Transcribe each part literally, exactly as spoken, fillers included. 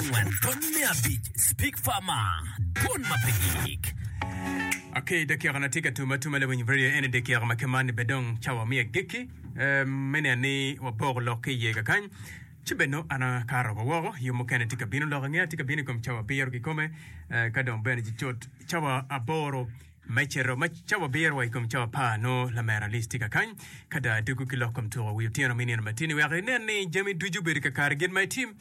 abongwen tonne abic Speak Farmer Dwon ma pe gik. Ok, dakika na tye ka tum atuma lawiny radio eni dakika ma kemani be dong cawa me agikki eh, me neno ni waboko lok ki iye kakany ci bene nongo an akato wa woko yo mukene tye ka bino lok angeya tye ka bino i kom cawa abiro kikome eh, ka dong bene ci cut cawa aboro me cito ma cawa abiro wa i kom cawa apar nongo lamera Alice tye kakany ka dong adwogo ki lok kom tuko wi otyeno me nino matini wek inen ni jami ducu obedo kakare gin ma itim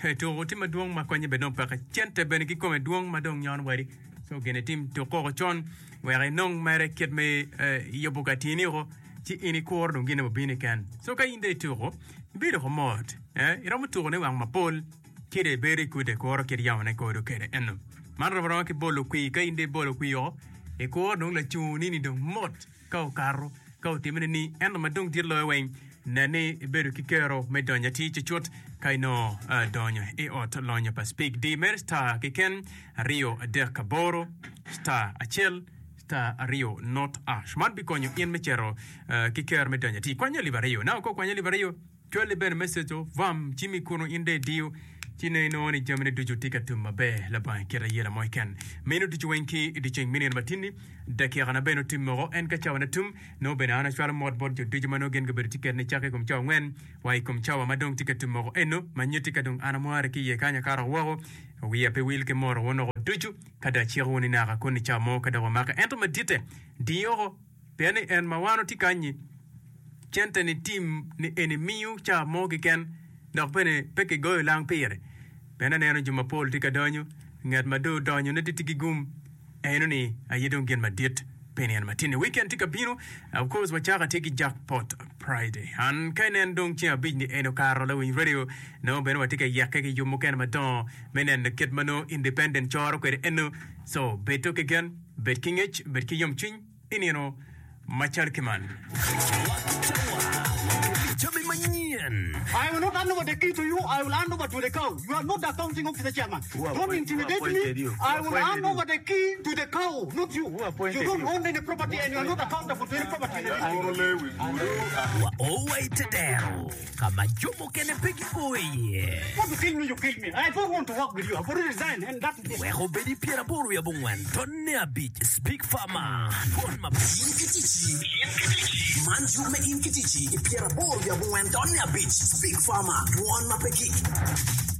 Hey, tuko tye madwong ma konye bene dong peke cente bene kikome dwong ma dong nyono wadi so gin itim tuk koko con wek inong mere kit me eh, yubo ka tyeni oko ci in ikuro dong gine obino keken so ka in dong ituko ibedo ko mot eh, iromo tuko ne wang mapol ci dong ibedo ikude ikuro kit yamone kodo kede eno man rom aroma ki bolo kwir ka in dong ibolo kwir oko ikuro dong lacungo ni dong mot ka okato ka otimme ni ento ma dong dit loyo weng nen ni ibedo ki kero me donyo atir cucut ka inongo uh, donyo i ot lonyo pa Speke di mere star keken aryo adek aboro star acel star aryo not ash man bikonyo in me cito uh, ki kero me donyo atir kwanyo alip aryo na ko kwanyo alip aryo cwali bene message o vam cimi kunu in de idiyo ci ne inongo ni jamine ducu tye ka tum maber labongo kit ayela mo keken meno ducu weng ki i dyeceng me nino matinni dakika na bene otim moko en ka cawa na tum nongo bene an acwalo mot bot jo ducu ma nongo gin gubedo tye ketne cakke i kom cawa angwen wa i kom cawa ma dong tye ka tum moko eno ma nyutti ka dong an amware ki iye kany akato woko wiya pe wil ki moro wun oko ducu ka dong aciko wun ni naka kun i cawa mo ka dok wamake ento maditte diyoko pien ni en ma wan otye kanyi cente ni tim ni eni miyo cawa mo keken dok bene pe kigoyo lang pire pien aneno jo mapol tye ka donyo ngat ma dong odonyo ne tye ki gum eno ni aye dong gin madit pi nino matini weekend tye ka bino of course wacaka tye ki jackpot Friday an ka inen dong ceng abic ni eno okato lawiny radio nongo bene watye ka yekke ki yub mukene madongo me neno kit ma nongo independent coro kwede eno so bedo ki gen bed ki ngec bed ki yomcwiny i nino macal ki man. Jami manyen. I will not hand over the key to you. I will hand over to the cow. You are not the accounting officer chairman. Who Don't appoint- who intimidate appointed me. you? I Who will appointed hand you? over the key to the cow, not you. Who appointed You don't you? own any property and you are not accountable to any property in the district. Wa o i te dero ka ma jo mukene pe gipo iye. Want to kill me, you kill me. I don't want to work with you. I've already resigned and that is it. Wek obed i pyeraboro wiye abongwen tonne abic Speak Farmer Dwon ma In ki ticci Man yub me in ki ticci i pyeraboro wiye abongwen tonne abic Speak Farmer Dwon ma pe gik.